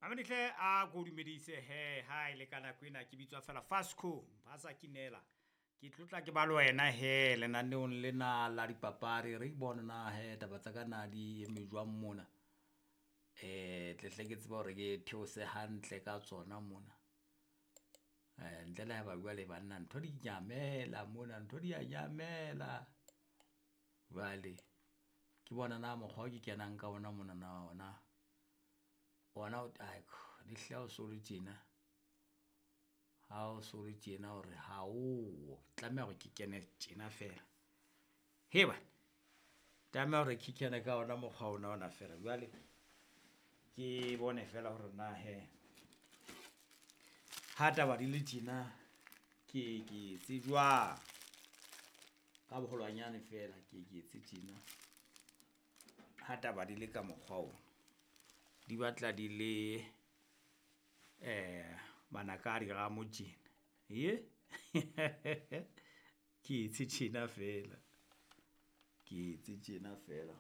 Mamedihle a ko dumedise he ha e le ka nako ena ke bitswa fela Fasco Mphasa Kinela. Ke tlotla ke ba le wena he lenaneong lena la dipapadi. Re bone na he taba tsa ka na di eme jwang mona. Tle hle ke tsebe hore ke theose hantle ka tsona mona. Ntle le haeba jwale banna ntho di nyamela mona, ntho di a nyamela. Jwale ke bona na mokgwa o ke kenang ka ona monana ona, ona le hlile ha o so le tjena, ha o so le tjena hore ha oyo, tlameha hore ke kene tjena feela. Hee banna, tlameha hore ke kene ka ona mokgwa ona ona feela. Jwale ke bone feela hore na hee ha taba di le tjena, ke ye ke etse jwang ka boholwanyane feela, ke ye ke etse tjena ha taba di le ka mokgwa ona. Di batla di le manaka a diramo tjena . Ke etse tjena feela, ke etse tjena feela.